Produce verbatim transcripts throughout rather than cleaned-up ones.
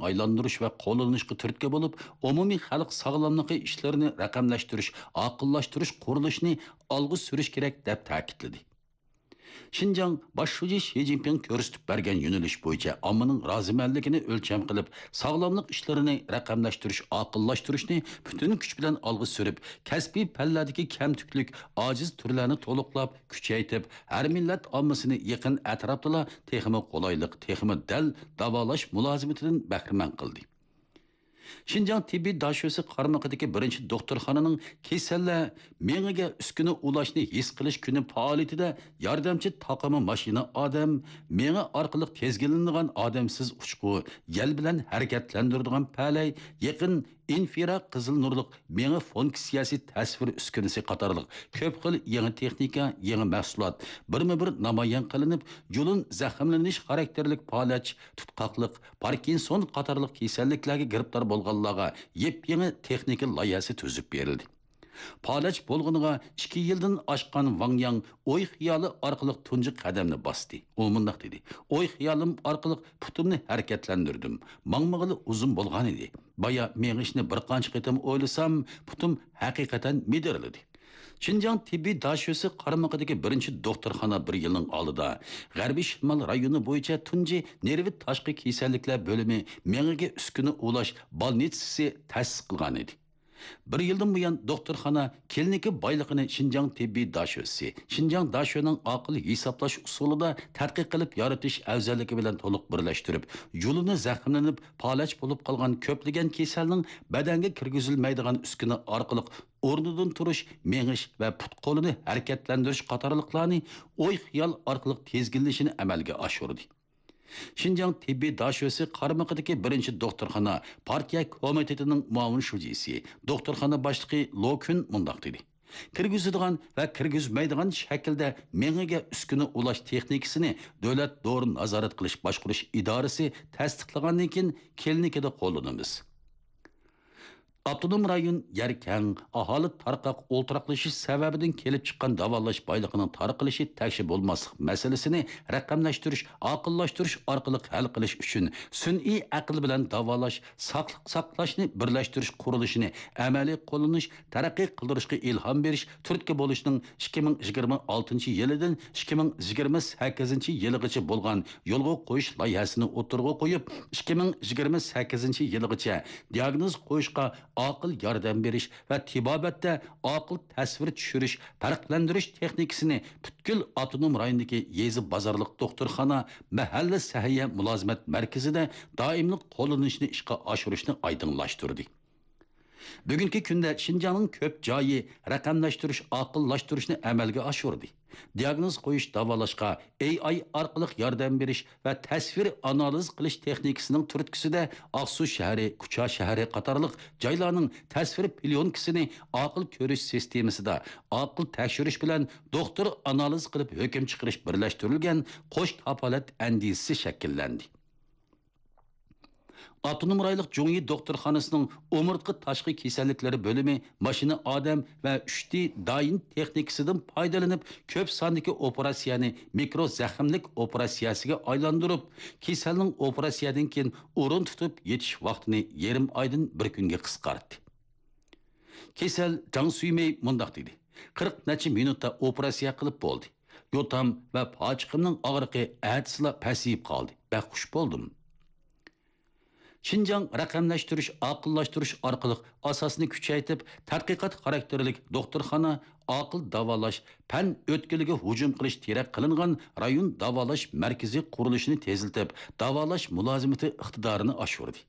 ئايلاندۇرۇش ۋە قوللىنىشقا تۈرتكە بولۇپ، ئومۇمىي خەلق ساغلاملىقى ئىشلىرىنى رەقەملەشتۈرۈش، ئاقىللاشتۇرۇش قۇرۇلۇشىنى ئالغا سۈرۈش كېرەك، دەپ تەكىتلىدى. شىنجاڭ باش شۇجى شى جىنپىڭ كۆرسىتىپ بەرگەن يۆنىلىش بويىچە ئاممىنىڭ رازىمەنلىكىنى ئۆلچەم قىلىپ، ساغلاملىق ئىشلىرىنى رەقەملەشتۈرۈش، ئاقىللاشتۇرۇشنى پۈتۈن كۈچ بىلەن ئالغا سۈرۈپ، كەسپىي پەنلەردىكى كەمتۈكلۈك، ئاجىز تۈرلەرنى تولۇقلاپ، كۈچەيتىپ، ھەر مىللەت ئاممىسىنى يېقىن ئەتراپتىلا تېخىمۇ قولايلىق، تېخىمۇ دەل داۋالاش مۇلازىمىتىدىن بەھرىمەن قىلدى. شىنجاڭ تېببىي داشۆسى قارمىقىدىكى بىرىنچى دوختۇرخانىنىڭ كېسەللەر مېڭىگە ئۈسكۈنە ئۇلاشنى ھېس قىلىش كۈنى پائالىيىتىدە ياردەمچى تاقىما ماشىنا ئادەم، مېڭە ئارقىلىق تىزگىنلىنىدىغان ئادەمسىز ئۇچقۇ، يەل بىلەن ھەرىكەتلەندۈرىدىغان پەلەي، يېقىن ئىنفرا قىزىل نۇرلۇق مېڭە فۇنكسىيەسى تەسۋىر ئۈسكۈنىسى قاتارلىق كۆپ خىل يېڭى تېخنىكا، يېڭى مەھسۇلات بىرمۇ بىر نامايان قىلىنىپ، جۇلۇن زەخىملىنىش خاراكتېرلىك پالەچ، تۇتقاقلىق، پاركىنسون قاتارلىق كېسەللىكلەرگە گىرىپتار بولغانلارغا يېپيېڭى تېخنىكا لايىھەسى تۈزۈپ بېرىلدى. پالەچ بولغىنىغا ئىككى يىلدىن ئاشقان ۋاڭ ياڭ ئوي خىيالى ئارقىلىق تۇنجى قەدەمنى باستى. ئۇ مۇنداق دېدى: «ئوي خىيالىم ئارقىلىق پۇتۇمنى ھەرىكەتلەندۈردۈم. ماڭمىغىلى ئۇزۇن بولغانىدى. بايا مېڭىشنى بىر قانچە قېتىم ئويلىسام، پۇتۇم ھەقىقەتەن مىدىرلىدى.» شىنجاڭ تېببىي داشۆسى قارمىقىدىكى بىرىنچى دوختۇرخانا بىر يىلنىڭ ئالدىدا غەربىي شىمال رايونى بويىچە تۇنجى نېرۋا تاشقى كېسەللىكلەر بۆلۈمى مېڭىگە ئۈسكۈنە ئۇلاش بالنىتسىسى تەسىس قىلغانىدى. بىر يىلدىن بۇيان، دوختۇرخانا كلىنىكا بايلىقىنى شىنجاڭ تېببىي داشۆسى، شىنجاڭ داشۆنىڭ ئاقىل ھېسابلاش ئۇسۇلىدا تەتقىق قىلىپ يارىتىش ئەۋزەللىكى بىلەن تولۇق بىرلەشتۈرۈپ، جۇلۇنى زەخىملىنىپ، پالەچ بولۇپ قالغان كۆپلىگەن كېسەلنىڭ بەدەنگە كىرگۈزۈلمەيدىغان ئۈسكۈنە ئارقىلىق ئورنىدىن تۇرۇش، مېڭىش ۋە پۇت-قولىنى ھەرىكەتلەندۈرۈش قاتارلىقلارنى ئوي-خىيال ئارقىلىق تىزگىنلىشىنى ئەمەلگە ئاشۇردى. شىنجاڭ تېببىي داشۆسى قارمىقىدىكى بىرىنچى دوختۇرخانا پارتىيە كومىتېتىنىڭ مۇئاۋىن شۇجىسى، دوختۇرخانا باشلىقى لو كۈن مۇنداق دېدى: «كىرگۈزىدىغان ۋە كىرگۈزمەيدىغان شەكىلدە مېڭىگە ئۈسكۈنە ئۇلاش تېخنىكىسىنى دۆلەت دورا نازارەت قىلىش باشقۇرۇش ئىدارىسى تەستىقلىغاندىن كېيىن كلىنىكىدا قوللىنىمىز.» ئاپتونوم رايون يەر كەڭ، ئاھالە تارقاق ئولتۇراقلىشىش سەۋەبىدىن كېلىپ چىققان داۋالاش بايلىقىنىڭ تارقىلىشى تەكشى بولماسلىق مەسىلىسىنى رەقەملەشتۈرۈش، ئاقىللاشتۇرۇش ئارقىلىق ھەل قىلىش ئۈچۈن سۈنئىي ئەقىل بىلەن داۋالاش، ساقلىق ساقلاشنى بىرلەشتۈرۈش قۇرۇلۇشىنى ئەمەلىي قوللىنىش، تەرەققىي قىلدۇرۇشقا ئىلھام بېرىش تۈرتكە بولۇشنىڭ ئىككى مىڭ يىگىرمە ئالتىنچى يىلىدىن ئىككى مىڭ يىگىرمە سەككىزىنچى يىلىغىچە بولغان يولغا قويۇش لايىھەسىنى ئوتتۇرىغا قويۇپ، ئىككى مىڭ يىگىرمە سەككىزىنچى يىلىغىچە دىئاگنوز قويۇشقا ئاقىل ياردەم بېرىش ۋە تېبابەتتە ئاقىل تەسۋىر چۈشۈرۈش، پەرقلەندۈرۈش تېخنىكىسىنى پۈتكۈل ئاپتونوم رايوندىكى يېزا بازارلىق دوختۇرخانا، مەھەللە سەھىيە مۇلازىمەت مەركىزىدە دائىملىق قوللىنىشنى ئىشقا ئاشۇرۇشنى ئايدىڭلاشتۇردى. بۈگۈنكى كۈندە شىنجاڭنىڭ كۆپ جايى رەقەملەشتۈرۈش، ئاقىللاشتۇرۇشنى ئەمەلگە ئاشۇردى. دىئاگنوز قويۇش، داۋالاشقا ئېي ئاي ئارقىلىق ياردەم بېرىش ۋە تەسۋىر ئانالىز قىلىش تېخنىكىسىنىڭ تۈرتكىسىدە، ئاقسۇ شەھىرى، كۇچا شەھىرى قاتارلىق جايلارنىڭ تەسۋىر پليونكىسىنى ئاقىل كۆرۈش سىستېمىسىدا ئاقىل تەكشۈرۈش بىلەن دوختۇر ئانالىز قىلىپ ھۆكۈم چىقىرىش بىرلەشتۈرۈلگەن قوش كاپالەت ئەندىزىسى شەكىللەندى. ئاپتونوم رايونلۇق جۇڭيى دوختۇرخانىسىنىڭ ئومۇرتقا تاشقى كېسەللىكلىرى بۆلۈمى ماشىنا ئادەم ۋە ئۈچ دى دايىن تېخنىكىسىدىن پايدىلىنىپ، كۆپ ساندىكى ئوپېراتسىيەنى مىكرو زەخىملىك ئوپېراتسىيەسىگە ئايلاندۇرۇپ، كېسەلنىڭ ئوپېراتسىيەدىن كېيىن ئورۇن تۇتۇپ يېتىش ۋاقتىنى يېرىم ئايدىن بىر كۈنگە قىسقارتتى. كېسەل جاڭ سۈيمېي مۇنداق دېدى: «قىرىق نەچچە مىنۇتتا ئوپېراتسىيە قىلىپ بولدى. يوتام ۋە پاچىقىمنىڭ ئاغرىقى ئەتىسىلا پەسىيىپ قالدى. بەك خۇش بولدۇم.» شىنجاڭ رەقەملەشتۈرۈش، ئاقىللاشتۇرۇش ئارقىلىق ئاساسنى كۈچەيتىپ، تەتقىقات خاراكتېرلىك دوختۇرخانا، ئاقىل داۋالاش، پەن ئۆتكىلىگە ھۇجۇم قىلىش تىرەك قىلىنغان رايون داۋالاش مەركىزى قۇرۇلۇشىنى تېزلىتىپ، داۋالاش مۇلازىمىتى ئىقتىدارىنى ئاشۇردى.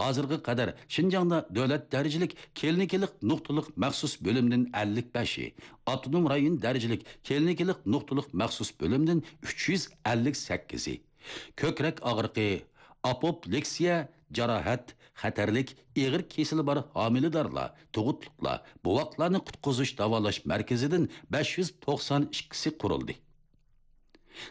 ھازىرغا قەدەر شىنجاڭدا دۆلەت دەرىجىلىك كلىنىكىلىق نۇقتىلىق مەخسۇس بۆلۈمدىن ئەللىك بەشى، ئاپتونوم رايون دەرىجىلىك كلىنىكىلىق نۇقتىلىق مەخسۇس بۆلۈمدىن ئۈچ يۈز ئەللىك سەككىزى، كۆكرەك ئاغرىقى، ئاپوپلېكسىيە، جاراھەت، خەتەرلىك ئېغىر كېسىلى بار ھامىلىدارلار، تۇغۇتلۇقلار، بوۋاقلارنى قۇتقۇزۇش داۋالاش مەركىزىدىن بەش يۈز توقسان ئىككىسى قۇرۇلدى.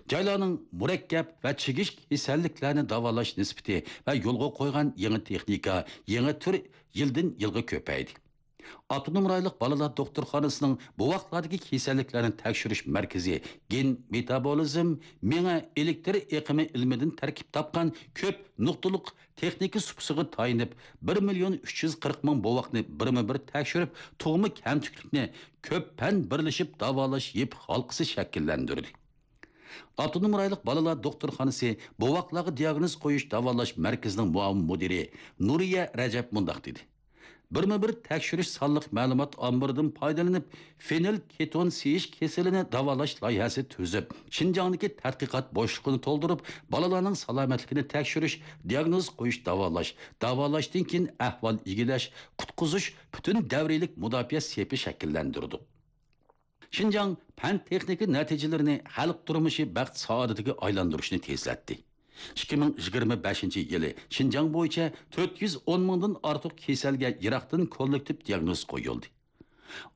جايلارنىڭ مۇرەككەپ ۋە چىگىش كېسەللىكلەرنى داۋالاش نىسبىتى ۋە يولغا قويغان يېڭى تېخنىكا، يېڭى تۈر يىلدىن يىلغا كۆپەيدى. ئاپتونوم رايونلۇق بالىلار دوختۇرخانىسىنىڭ بوۋاقلاردىكى كېسەللىكلەرنى تەكشۈرۈش مەركىزى گېن مېتابولىزم، مېڭە ئېلېكتر ئېقىمى ئىلمىدىن تەركىب تاپقان كۆپ نۇقتىلىق تېخنىكا سۇپىسىغا تايىنىپ، بىر مىليون ئۈچ يۈز قىرىق مىڭ بوۋاقنى بىرمۇ بىر تەكشۈرۈپ، تۇغما كەمتۈكلۈكنى كۆپ پەن بىرلىشىپ داۋالاش يىپ ھالقىسى شەكىللەندۈردى. ئاپتونوم رايونلۇق بالىلار دوختۇرخانىسى بوۋاقلارغا دىياگنوز قويۇش داۋالاش مەركىزىنىڭ مۇئاۋىن مۇدىرى نۇرىيە رەجەپ مۇنداق دېدى: بىرمۇ بىر تەكشۈرۈش سانلىق مەلۇمات ئامبىرىدىن پايدىلىنىپ، فېنىل كېتون سىيىش كېسىلىنى داۋالاش لايىھەسى تۈزۈپ، شىنجاڭدىكى تەتقىقات بوشلۇقىنى تولدۇرۇپ، بالىلارنىڭ سالامەتلىكىنى تەكشۈرۈش، دىياگنوز قويۇش، داۋالاش، داۋالاشتىن كېيىن ئەھۋال ئىگىلەش، قۇتقۇزۇش پۈتۈن دەۋرىيلىك مۇداپىئە سېپى شەكىللەندۈردۇق. شىنجاڭ پەن-تېخنىكا نەتىجىلىرىنى خەلق تۇرمۇشى بەخت-سائادىتىگە ئايلاندۇرۇشنى تېزلەتتى. ئىككى مىڭ يىگىرمە بەشىنچى يىلى شىنجاڭ بويىچە تۆت يۈز ئون مىڭدىن ئارتۇق كېسەلگە يىراقتىن كوللېكتىپ دىياگنوز قويۇلدى.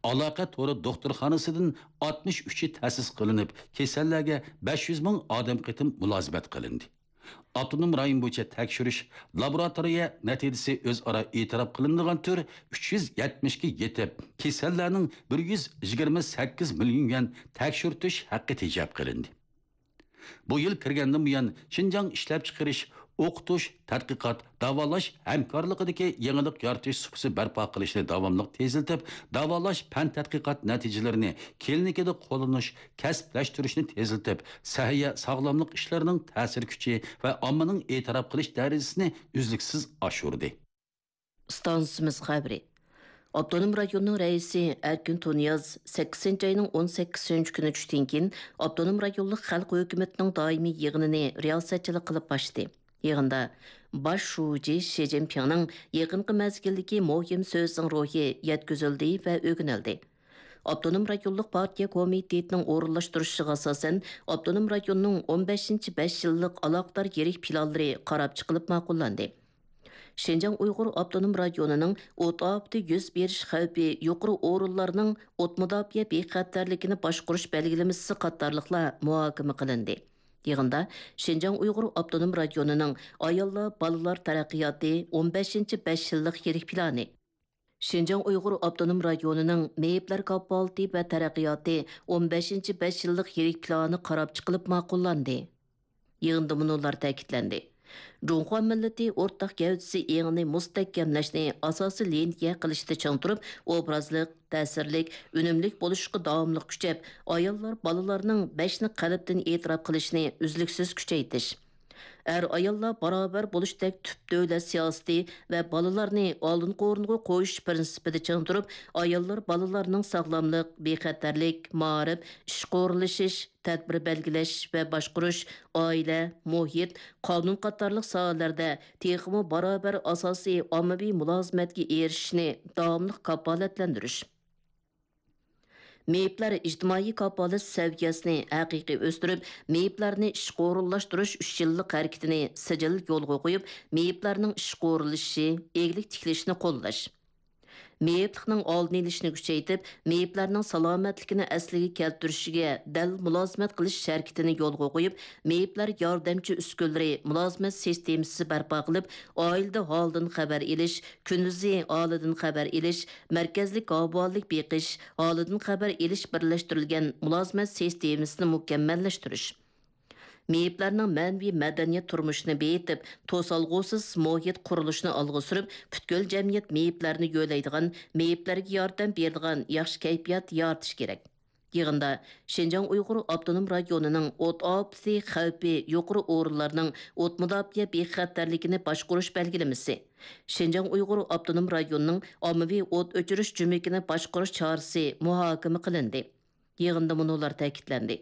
ئالاقە تورى دوختۇرخانىسىدىن ئاتمىش ئۈچى تەسىس قىلىنىپ، كېسەللەرگە بەش يۈز مىڭ ئادەم قېتىم مۇلازىمەت قىلىندى. ئاپتونوم رايون بويىچە تەكشۈرۈش لابوراتورىيە نەتىجىسى ئۆزئارا ئېتىراپ قىلىنىدىغان تۈر ئۈچ يۈز يەتمىشكە يېتىپ، كېسەللەرنىڭ بىر يۈز يىگىرمە سەككىز مىليون يۈەن تەكشۈرتۈش ھەققى تېجەپ قىلىندى. بۇ يىل كىرگەندىن بۇيان، شىنجاڭ ئىشلەپچىقىرىش، ئوقۇتۇش، تەتقىقات، داۋالاش ھەمكارلىقىدىكى يېڭىلىق يارىتىش سۇپىسى بەرپا قىلىشنى داۋاملىق تېزلىتىپ، داۋالاش پەن تەتقىقات نەتىجىلىرىنى كلىنىكىدا قوللىنىش، كەسىپلەشتۈرۈشنى تېزلىتىپ، سەھىيە، ساغلاملىق ئىشلىرىنىڭ تەسىر كۈچى ۋە ئاممىنىڭ ئېتىراپ قىلىش دەرىجىسىنى ئۈزلۈكسىز ئاشۇردى. ئىستانسىمىز خەۋىرى. ئاپتونوم رايوننىڭ رەئىسى ئەركىن تۇنىياز سەككىزىنچى ئاينىڭ ئون سەككىزىنچى كۈنى چۈشتىن كېيىن ئاپتونوم رايونلۇق خەلق ھۆكۈمىتىنىڭ دائىمىي يىغىنىنى رىياسەتچىلىك قىلىپ باشلىدى. يىغىندا باش شۇجى شى جىنپىڭنىڭ يېقىنقى مەزگىلدىكى مۇھىم سۆزىنىڭ روھى يەتكۈزۈلدى ۋە ئۆگىنىلدى. ئاپتونوم رايونلۇق پارتىيە كومىتېتىنىڭ ئورۇنلاشتۇرۇشىغا ئاساسەن، ئاپتونوم رايوننىڭ ئون بەشىنچى بەش يىللىق ئالاقىدار يىرىك پىلانلىرى قاراپ چىقىلىپ ماقۇللاندى. شىنجاڭ ئۇيغۇر ئاپتونوم رايونىنىڭ ئوت ئاپىتى يۈز بېرىش خەۋپى يۇقىرى ئورۇنلارنىڭ ئوت مۇداپىئە بىخەتەرلىكىنى باشقۇرۇش بەلگىلىمىسى قاتارلىقلار مۇھاكىمە قىلىندى. يىغىندا شىنجاڭ ئۇيغۇر ئاپتونوم رايونىنىڭ ئاياللار، بالىلار تەرەققىياتى ئون بەشىنچى بەش يىللىق يىرىك پىلانى، شىنجاڭ ئۇيغۇر ئاپتونوم رايونىنىڭ مېيىپلەر كاپالىتى ۋە تەرەققىياتى ئون بەشىنچى بەش يىللىق يىرىك پىلانى قاراپ چىقىلىپ ماقۇللاندى. يىغىندا مۇنۇلار تەكىتلەندى: جۇڭخۇا مىللىتى ئورتاق گەۋدىسى ئېڭىنى مۇستەھكەملەشنى ئاساسىي لىنىيە قىلىشتا چىڭ تۇرۇپ، ئوبرازلىق، تەسىرلىك، ئۈنۈملۈك بولۇشقا داۋاملىق كۈچەپ، ئاياللار، بالىلارنىڭ بەشنى قەلبتىن ئېتىراپ قىلىشىنى ئۈزلۈكسىز كۈچەيتىش، ئەر-ئاياللار باراۋەر بولۇشتەك تۈپ دۆلەت سىياسىتى ۋە بالىلارنى ئالدىنقى ئورۇنغا قويۇش پىرىنسىپىدا چىڭ تۇرۇپ، ئاياللار، بالىلارنىڭ ساغلاملىق، بىخەتەرلىك، مائارىپ، ئىشقا ئورۇنلىشىش، تەدبىر بەلگىلەش ۋە باشقۇرۇش، ئائىلە، مۇھىت، قانۇن قاتارلىق ساھەلەردە تېخىمۇ باراۋەر ئاساسىي ئاممىۋى مۇلازىمەتكە ئېرىشىشنى داۋاملىق كاپالەتلەندۈرۈش. مېيىپلەر ئىجتىمائىي كاپالەت سەۋىيەسىنى ھەقىقىي ئۆستۈرۈپ، مېيىپلەرنى ئىشقا ئورۇنلاشتۇرۇش ئۈچ يىللىق ھەرىكىتىنى سىجىل يولغا قويۇپ، مېيىپلەرنىڭ ئىشقا ئورۇنلىشىشى، ئىگىلىك تىكلىشىنى قوللاش. مېيىپلىقنىڭ ئالدىنى ئېلىشنى كۈچەيتىپ، مېيىپلەرنىڭ سالامەتلىكىنى ئەسلىگە كەلتۈرۈشىگە دەل مۇلازىمەت قىلىش ھەرىكىتىنى يولغا قويۇپ، مېيىپلەر ياردەمچى ئۈسكۈنىلىرى مۇلازىمەت سىستېمىسى بەرپا قىلىپ، ئائىلىدە ھالىدىن خەۋەر ئېلىش، كۈندۈزى ھالىدىن خەۋەر ئېلىش، مەركەزلىك ئاۋۇئاللىق بېقىش، ھالىدىن خەۋەر ئېلىش بىرلەشتۈرۈلگەن مۇلازىمەت سىستېمىسىنى مۇكەممەللەشتۈرۈش. مېيىپلەرنىڭ مەنىۋى مەدەنىيەت تۇرمۇشىنى بېيىتىپ، توسالغۇسىز مۇھىت قۇرۇلۇشىنى ئالغا سۈرۈپ، پۈتكۈل جەمئىيەت مېيىپلەرنى يۆلەيدىغان، مېيىپلەرگە ياردەم بېرىدىغان ياخشى كەيپىيات يارىتىش كېرەك. يىغىندا شىنجاڭ ئۇيغۇر ئاپتونوم رايونىنىڭ ئوت ئاپىتى خەۋپى يۇقىرى ئورۇنلارنىڭ ئوت مۇداپىئە بىخەتەرلىكىنى باشقۇرۇش بەلگىلىمىسى، شىنجاڭ ئۇيغۇر ئاپتونوم رايونىنىڭ ئاممىۋى ئوت ئۆچۈرۈش جۈمىكىنى باشقۇرۇش چارىسى مۇھاكىمە قىلىندى. يىغىندا مۇنۇلار تەكىتلەندى: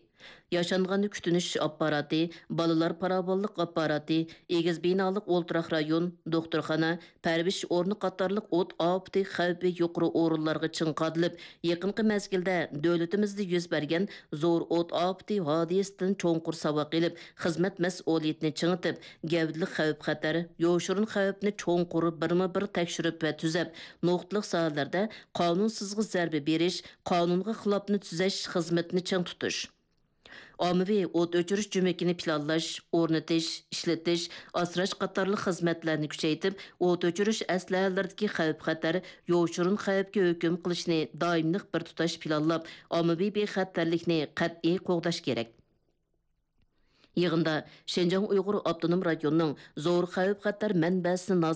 ياشانغاننى كۈتۈنۈش ئاپپاراتى، بالىلار پاراۋانلىق ئاپپاراتى، ئېگىز بىنالىق ئولتۇراق رايون، دوختۇرخانا، پەرۋىش ئورنى قاتارلىق ئوت ئاپىتى خەۋپى يۇقىرى ئورۇنلارغا چىڭ قادىلىپ، يېقىنقى مەزگىلدە دۆلىتىمىزدە يۈز بەرگەن زور ئوت ئاپىتى ھادىسىسىدىن چوڭقۇر ساۋاق ئېلىپ، خىزمەت مەسئۇلىيىتىنى چىڭىتىپ، گەۋدىلىك خەۋپ-خەتەر، يوشۇرۇن خەۋپنى چوڭقۇر بىرمۇ بىر تەكشۈرۈپ ۋە تۈزەپ، نۇقتىلىق ساھەلەردە قانۇنسىزغا زەربە بېرىش، قانۇنغا خىلاپنى تۈزەش خىزمىتىنى چىڭ تۇتۇش. ئاممىۋى ئوت ئۆچۈرۈش جۈمىكىنى پىلانلاش، ئورنىتىش، ئىشلىتىش، ئاسراش قاتارلىق خىزمەتلەرنى كۈچەيتىپ، ئوت ئۆچۈرۈش ئەسلىھەلىرىدىكى خەۋپ-خەتەر يوشۇرۇن خەۋپكە ھۆكۈم قىلىشنى دائىملىق بىر تۇتاش پىلانلاپ، ئاممىۋى بىخەتەرلىكنى قەتئىي قوغداش كېرەك. يىغىندا شىنجاڭ ئۇيغۇر ئاپتونوم رايونىنىڭ زور خەۋپ-خەتەر مەنبەسىنى نازارەت